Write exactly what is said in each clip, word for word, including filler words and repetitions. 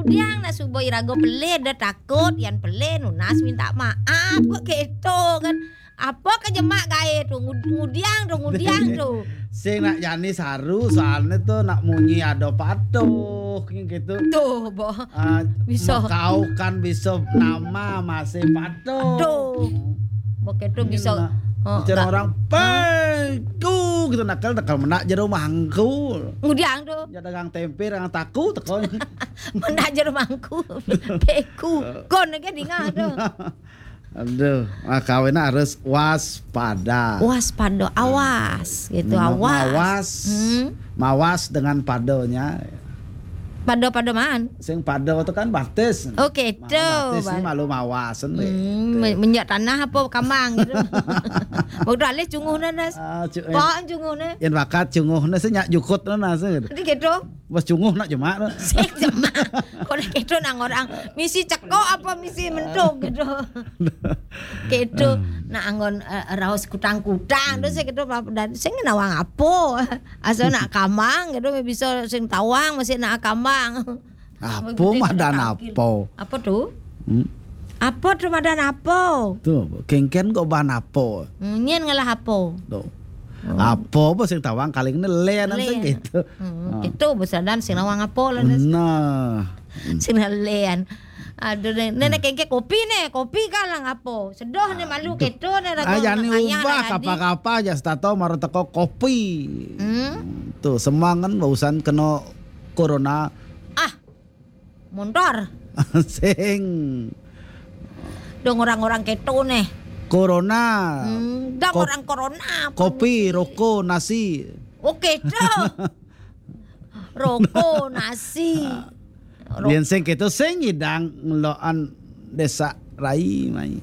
Ngudiang nak suba iraga pelih, dah takut, yan pelih nunas minta maaf. Kok keto kan? Apa ke jemak gae tu? Ngud- Ngudiang tu, ngudiang tu. Sing nak jani saru soalnya tu nak munyi ada patuh gitu. Tuh, boh. Ah, Bisa. Kau kan bisa nama masih patuh. Tuh. Boh keto bisa. Nah, Oh, macam enggak. Orang peku gitu nakal nakal menak jero mangkul. Ngudiang tu. Ya dagang tempe dagang taku teko. Menak jero mangku. Peku. Kon ke dingah tu. Aduh, nah, kawin harus waspada. Waspada, awas gitu, Ma- awas. Mawas. Hmm. Mawas dengan padonya. Pada-pada man. Sing pado itu kan batis. Oke, tu. Batis ini malu mawasan deh. Hmm, men- menjak tanah apa kamang gitu. Waktu alih cunguh na nas. Ah, cu- eh, Kok cunguh na? Yang bakat cunguh na sih nyak jukut na nas gitu. Jadi gitu. Bos cunguh nak jemak tu. Sing jemak. Kok gitu nang orang misi cekok apa misi mentuk gitu. Gitu. Nak anggon eh, raus kutang-kutang tu sing gitu dan sing nawang apa. Asal nak kamang gitu bisa sing tawang masih nak kamang. Apa madan apa? Apa tu? Hmm. Apa tu madan apa? Tu, kengken kok bahan apa? Hmm, nyen ngalah apa? Tu. Apa apa sing tawang kaling ni len Len. Sing gitu. Hmm, gitu besadan sing nawang apa lah das. Nah. Sing len. Aduh, nenek kengke kopi ne, kopi kalang apa? Sedoh ne malu keto ne raga Ah, jani nak ngayah ubah lah tadi. Kapa-kapa aja setato maro teko kopi. Hmm. Tu semangan barusan kena corona. Ah, montor. Sing. Dong orang-orang keto ne. Corona. Hmm, dong Kop- orang corona. Kopi, rokok, nasi. Oke tu. Rokok, nasi. Ro- Yen sing gitu sing ngidang ngelokan desa rai mai.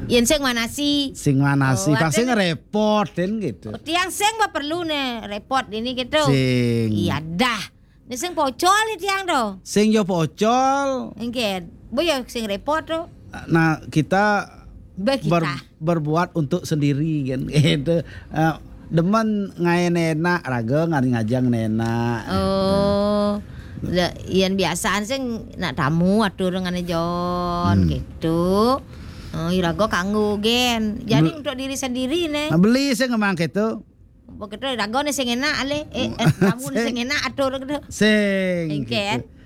Yen sing manasi. Sing manasi Oh, pasti ada- ngerepotin gitu. Tiang sing ba perlu ne repot ini gitu. Sing. Iya dah. Ni sing pocol ni tiang tu. Sing yo pocol. Engken. Boyo sing repot tu. Nah, kita Bagi ber- kita. Berbuat untuk sendiri kan gitu. Eh, demen ngaen enak raga ngari ngajang enak. Oh. La, yen biasaan sing nak tamu atur ngene Jon Hmm. gitu. Oh, iraga kanggo gen. Jadi Be- untuk diri sendiri ne. Nah, beli sing ngemang gitu. Begitu iraga ne sing enak ale. Eh, eh, tamu ne Sing. Sing enak atur gitu. Sing. Engken. Gitu.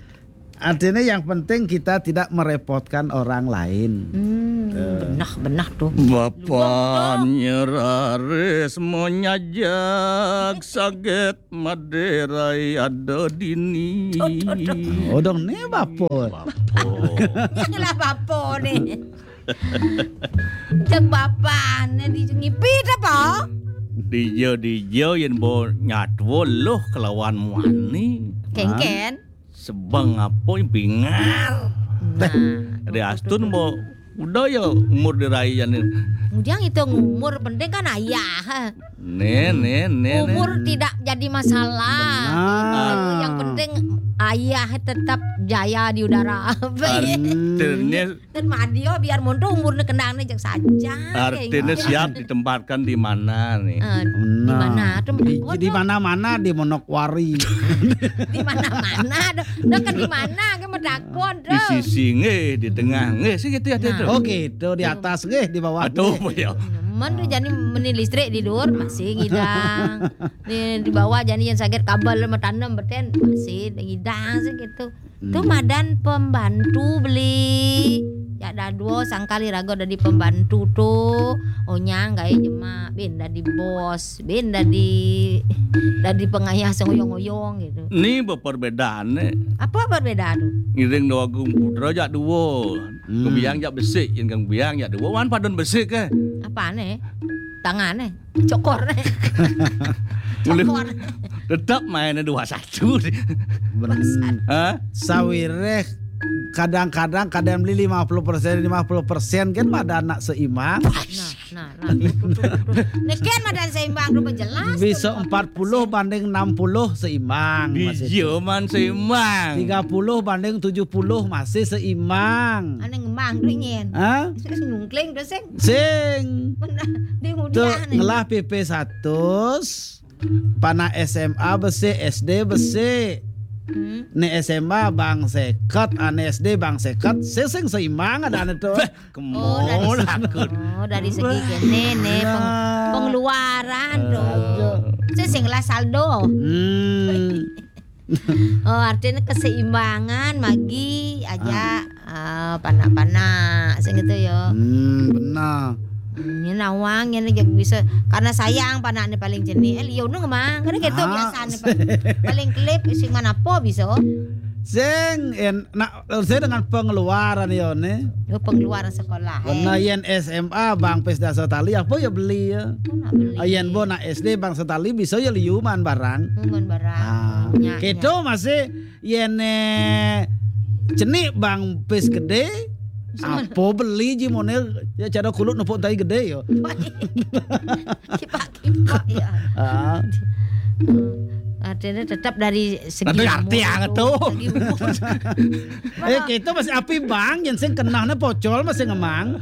Artinya yang penting kita tidak merepotkan orang lain. Hmm, benah benah tu. Bapanya raris monyajak saget maderai ada dini. Oh dong ni bapa. Yalah bapa ni. Cek bapa ni di ngipi apa? Dija dija yen bo nyatwa loh kelawan muani. Kengken. Sebang apa bingar. Nah. Ada astun bo udah ya umur dirai jan ni. Kemudian itu umur penting kan ayah. Nen nen nen. Umur tidak jadi masalah. Benar. Yang penting ayah tetap jaya di udara. Artinya Dan madio biar monto umurnya kendangnya jeng saja. artinya siap ditempatkan di mana nih. Eh, di mana tuh? Di, Oh, di tuh. Mana-mana di Monokwari. Di mana-mana tuh. Nah, kan di mana ke medakon Di tuh. sisi nggih, di tengah nggih, sih gitu ya Nah. tuh. Oh gitu, di atas nggih, di bawah. Aduh, Nggih. ya. Nemen tuh jani meni listrik di luar masih ngidang. Di, di bawah jani yang sakit kabel mau tanam beten masih ngidang sih gitu. Tuh Hmm. madan pembantu beli. Ya dah dua sangkali raga dari pembantu tuh. Onyang gawe jemak, bin dari bos, bin dari dari pengayah sing oyong-oyong gitu. Ini berperbedaan nih. Apa perbedaan tuh? Ngiring dua agung putra jak dua. Hmm. Kebiang jak besik, yang kang biang jak dua. Wan padon besik ke? Apa nih? Tangan nih, cokor nih. Boleh. Cokor. Tetap mainnya dua satu. Ben, Hah? Sawireh kadang-kadang kadang beli lima puluh persen lima puluh persen kan pada anak seimbang. Nah, nah, nah. Tuh, tuh, tuh, tuh. Nih kan madan seimbang rupa jelas. Bisa Tuh, empat puluh banding enam puluh seimbang Di masih. Jerman seimbang. Tiga puluh banding tujuh puluh masih seimbang. Aneh ngemang tuh nyen. Hah? Terus nungkling tuh sing. Sing. Bener. Di Tuh mudian nih. Ngelah P P satu, pana S M A besi, S D besi. Hmm. Né S M A bang seket, ané S D bang seket, sing, sing seimbang adané to. Beh, Oh, dari kemana segi, aku? Oh, dari segi kéné né, peng-, Nah. Pengeluaran to. Aduh. Sing, sing lah saldo. Hmm. Oh, artinya keseimbangan, magi aja, Ah. eh, panak-panak, sing gitu ya. Hmm, benar. Hmm, ini nawang, ini juga bisa, karena sayang panaknya paling jenih. Eh, liu nu ngemang, karena gitu Ah. Biasanya pa-, paling klip, sing mana apa bisa. Sing, en-, nak, saya dengan pengeluaran ya, né. Oh, pengeluaran sekolah, Karena eh. Yén S M A bang pis dasa tali, apa ya beli ya? Oh, nak beli. Ah, yén bo nak S D bang setali bisa ya liuman barang. Liuman barang. Ah, Nyak, gitu nyak. Masih yén, eh, cenik bang pis gedé, Sama. Apa beli ji moné ya cara kulit nepuk tai gedé ya. Kipak-kipak ya. Ah. Artinya tetap dari segi Nanti arti umur yang itu, tuh. Segi umur. Eh, kita masih api bang, yang sing kenalnya pocol masih ngemang.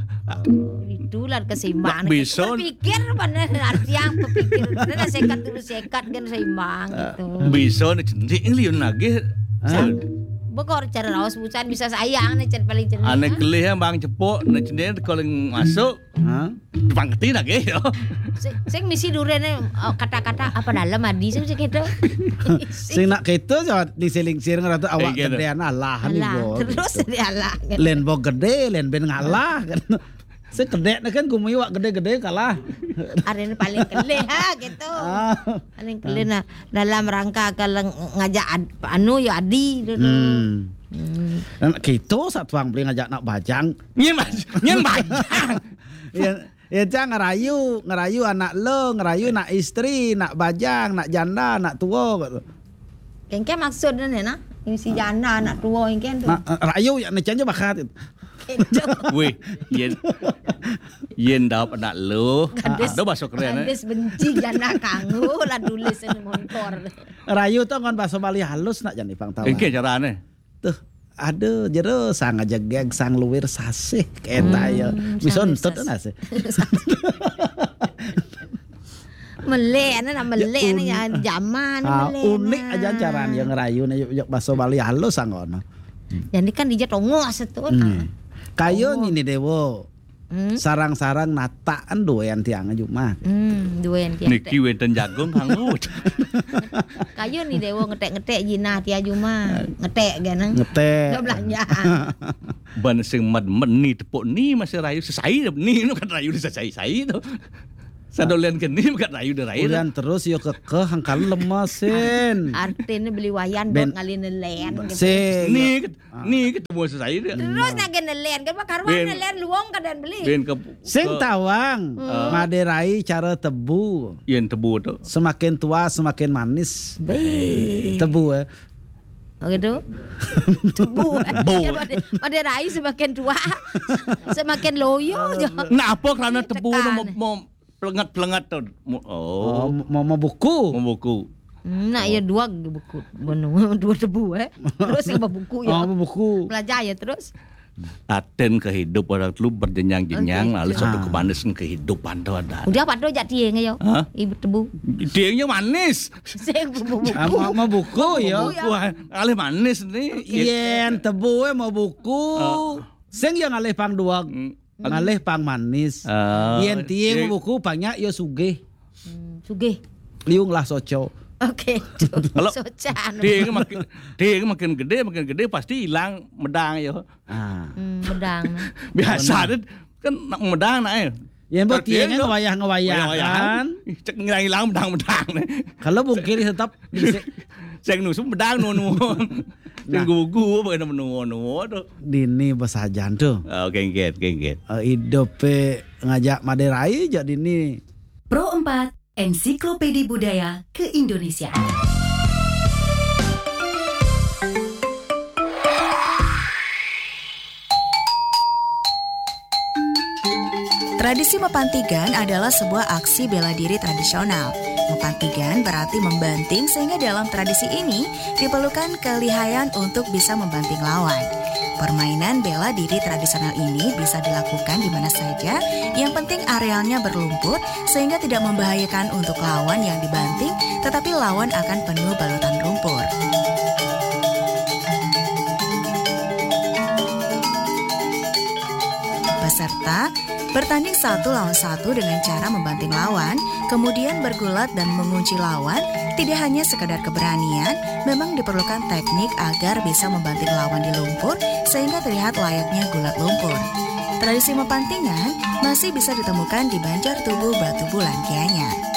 Itulah keseimbangan. Bisa. Berpikir mana arti yang berpikir. Nah, sekat dulu sekat kan seimbang gitu. Bisa nih, cenik liun lagi. Ah. Bekor cara raos busan bisa sayang nih, cen paling cenik. Ané ya. Kelih yang bang cepok, nah cenik kalau masuk. Hah? Pangketi lagi ya. Sing, sing misi duréné, oh, kata-kata apa dalam adi sing, sing gitu. Sing nak gitu ya, di siling-siling ratu awak Iya, gitu. Gedéan Allah nih, Alah, Bo. Terus dialah. Lén bo gedé, lén ben ngalah kan. Sing gedé kan gumi wak gedé-gedé kalah. Aréné paling kelih ha gitu. Ah. Paling kelih nah dalam rangka kalau ngajak ad-, anu ya adi gitu. Hmm. Hmm. Nah, gitu satuang beli ngajak nak bajang. Nyén baj-, nyén bajang. Ya, ya, Cang, ngerayu, ngerayu anak lo, ngerayu nak istri, nak bajang, nak janda, nak tua gitu. Kengke maksudnya nih nah, isi janda, anak tua, kengke tuh. Nah, eh, rayu ya, nih, Cang, aja bakat gitu. Gitu. Wih, yén, yén dap anak lo, Gadis, ada bahasa keren, eh. Gadis benci janda kanggo, lah tulis ini montor. Rayu tuh kan bahasa Bali halus nak jadi pang tawa. Oke, carane. Tuh, aduh, jero sang aja geg, sang luwir sasih, keta ya. Hmm, bisa sangat entut sas-, nah sih. Melek, anak nak melek, ya, anak un-, ya, zaman ah, melek, unik nah. Aja caranya ngerayu, nah, yuk, yuk, bahasa Bali halus, sang ngono. Jadi kan dijak tongos itu. Hmm. Kayo tongos. Ini Dewo. Hmm? Sarang-sarang nataan duwean tiang aja mah. Hmm, duwean tiang. Niki wénten jagung kanggo. Kayo nih Dewo ngetek-ngetek jinah tiang aja mah. Ngetek geneng. Ngetek. Nggak belanja. Ban sing med-med ni tepuk ni masih rayu sesai ni nu kan rayu sesai-sai to. Sadolen ke ni kan rayu de rayu. Ulian terus yo kekeh angkal lemesin. Artine beli wayan ben, dot ngalih nelen gitu. Sing. Ni ket-, ah, ni ketemu sesai dia. Terus nagih nelen kan, Pak Karwan ben, nelen luwung kadén beli. Ben ke, sing ke tawang, hmm, maderai cara tebu. Yen tebu tu. Semakin tua semakin manis. Be. Tebu, eh. Oh gitu. Tebu. Tebu. Ya, made-, maderai semakin tua, semakin loyo. Nah, apa kerana tebu tu mau, mau pelengat-pelengat tu? Mu-, oh. Oh, mau, mau buku. Mau buku. Nak ya dua buku. Dua tebu, eh. Terus yang buku ya. Oh, buku. Belajar ya terus. Aten kehidup orang tu berjenjang-jenjang, oke, lalu satu, ah, kemanisan kehidupan tu ada. Udah apa tu jak tiang yo? Hah? Ibu tebu. Tiangnya manis. Sing buku. Ah, mau, mau buku ya. Buku, ah, alih manis ni. Yen tebu, eh, mau buku. Ah. Sing yang alih pang duag. Hmm. Ngalih pang manis. Ah, yen tiang, tiang buku banyak ya sugih. Hmm, sugih. Liung lah soco. Oke. Kalau socan. Tiang makin, tiang makin gede, makin gede pasti hilang medang ya. Ah. Hmm, medang. Biasa tu kan nak medang nak eh. Ya, mbok tiang kan ngewayah-ngewayah kan. Ih, cek ngilang-ngilang medang-medang ni. Kalau mungkin tetap bisa. Sing nusu medang nunu. Nah. Sing gugu apa kena nunu tu. Dini besajan tu. Ah, kengket, kengket. Eh, hidup pe ngajak maderai jak dini. Pro empat, Ensiklopedi Budaya Keindonesiaan. Tradisi mepantigan adalah sebuah aksi bela diri tradisional. Mepantigan berarti membanting, sehingga dalam tradisi ini diperlukan kelihayan untuk bisa membanting lawan. Permainan bela diri tradisional ini bisa dilakukan di mana saja, yang penting arealnya berlumpur sehingga tidak membahayakan untuk lawan yang dibanting, tetapi lawan akan penuh balutan lumpur. serta bertanding satu lawan satu dengan cara membanting lawan, kemudian bergulat dan mengunci lawan, tidak hanya sekadar keberanian, memang diperlukan teknik agar bisa membanting lawan di lumpur sehingga terlihat layaknya gulat lumpur. Tradisi mempantingan masih bisa ditemukan di Banjar Tubuh Batu Bulan Gianyar.